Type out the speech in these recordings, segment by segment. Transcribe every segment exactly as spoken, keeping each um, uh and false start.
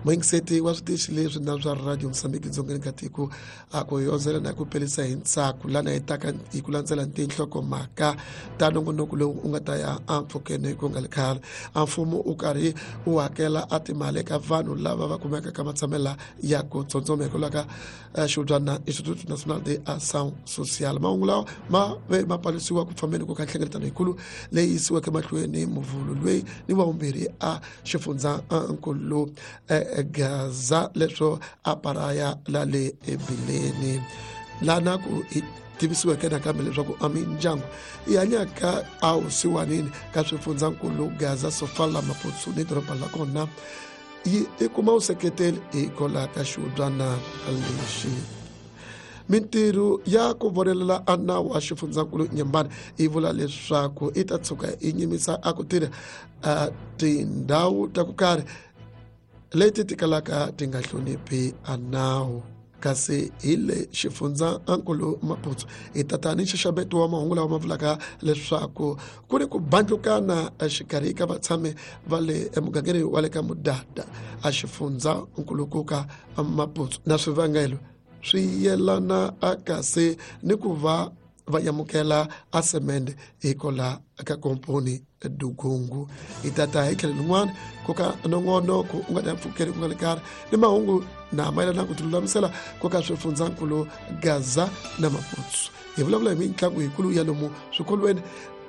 Muyingiseti wa switichi leswi na swa Radio Mozambique dzongeni ka tiko a ku yondzela na ku pelisa hi ntsako lana hi taka hi ku landzela tinhlokomhaka ta nongonoko lowu u nga ta ya empfhukeni ku nga ri khale. A mfumo u karhi u hakela a timali eka vanhu lava va kumeka ka matshamela ya ku tsondzoma hikwalaho ka xihubyana Instituto Nacional de Ação Social. Mahungu lawa ma ve ma palisiwa ku fambeni ku ka nhlengeletano yikulu leyi yisiweke mahlweni muvhulu loyi ni wa vumbirhi a xifundzankulu Gaza leswo a paraya la le ebileni lana ku hi tivisiweke nakambe leswaku a mindyangu yi hanyaka a wusiwanini ka swifundzankulu Gaza, Sofala, Maputo ni doroba la kona yi i kuma vuseketeli hikwalaho ka xihubyana lexi. Mintirho ya ku vonelela a nawu wa xifundzankulu Nyembani yi vula leswaku i ta tshuka yi nyimisa a ku tirha a tindhawu ta ku karhi leti ti kalaka ti nga hloniphi a nawu. Kasi hi le xifundzankulu Maputo hi tata ni nxaxameto wa mahungu lawa ma vulaka leswaku ku ni ku bandlukana exikarhi ka vatshami va le emugangeni wa le ka Mudada a xifundzankulukuka Maputo na swivangelo swi yelana a kasi ni ku va va amukela a semende hikwalaho ka komponi Dugungu. Hi tata hi tlhelo rin'wana ku ka nongonoko u nga ta mpfhukeni ku nga le karhi ni mahungu na mayelana ku tilulamisela ku ka swifundzankulu Gaza na Maputo. Hi vulavula hi mitlangu yikulu ya lomu swikolweni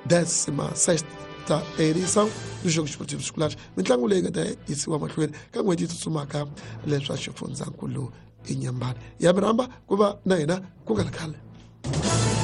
décima sexta edição do Jogo Esportivo Escolar, mitlangu leyi nga ta yisiwa mahlweni ka n'hweti yi tsutsumaka leswa xifundzankulu Inyambani. Ya mi rhamba ku va na hina ku nga ri khale.